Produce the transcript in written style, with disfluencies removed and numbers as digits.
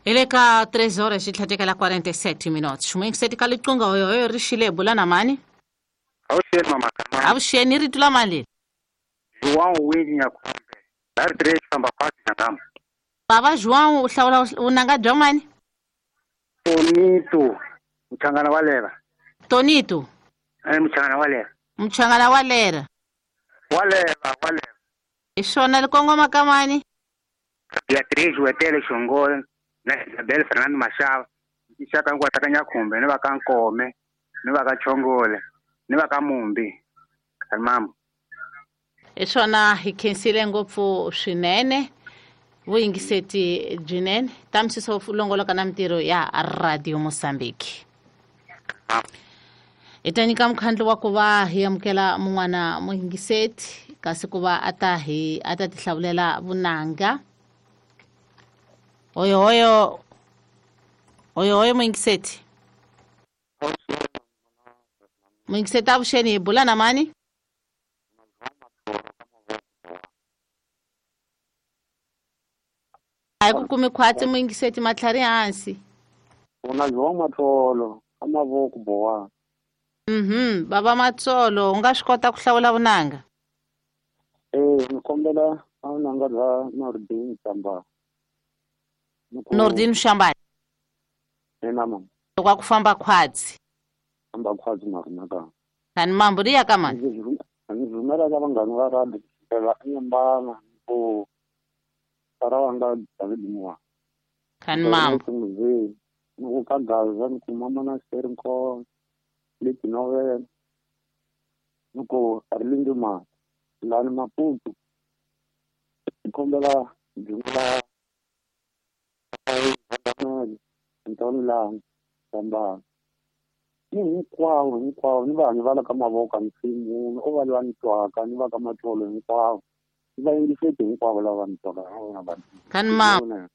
Hi le ka 3 horas xi tlhatekela 47 minutes. Muyingiseti ka liqunga hoyohoyo ri xile bula na mani? Avuxeni mama Kamani. Avuxeni rito la mani leri? João Winnie Nyakhombe. Dari 3 famba khwatsi Nyangama. Bava João u hlawula vunanga bya mani? Tonito Muchangana wa lera. Tonito? Muchangana wa lera. Muchangana wa lera. Wa lera, wa lera. Hi swona li kongoma ka mani? Beatriz Wetele Xongole na Isabel Fernando Mashava. Xaka hinkwato ka Nyakhumbe ni va ka Nkome ni va ka Chongole ni va ka Mumbi. Mama. Hi swona hi khensile ngopfu swinene vuyingiseti byinene ta misiso longoloka na mintirho ya Radio Mozambique. Hi ta nyika mukhandlu wa ku va hi amukela mun'wana muyingiseti kasi ku va a ta hi a ta tihlawulela vunanga. Hoyohoyo hoyohoyo muyingiseti. Muyingiseti avuxeni hi bula na mani? A hi ku kumi khwatsi muyingiseti matlhari hansi. Una João Matsolo ka mavoko bowa. Baba Matsolo u nga swi kota ku hlawula vunanga? Ni kombela vunanga bya Nordin Shambani. Nordin Shambani. Ina mama. Loko a ku famba khwatsi. Famba khwatsi na rona ka. Kani mambo ri ya ka mani? Ndzi rhumela ka vanghana va radio kusukela eNyembana ku Sarawanga David Moa. Kani mambo. Ni ku ka Gaza ni ku mama na Serinko leti novela ni ku Arlindo Ma lani Maputo ni kombela Jumla Ntoni Lani Sambani ni hinkwavo hinkwavo ni vanhu va la ka mavoko a nsimu o va lwa ni twaka ni va ka matsolo hinkwavo ni va yingiseti hinkwavo lava ni twaka na vona vanhu. Kani mambo.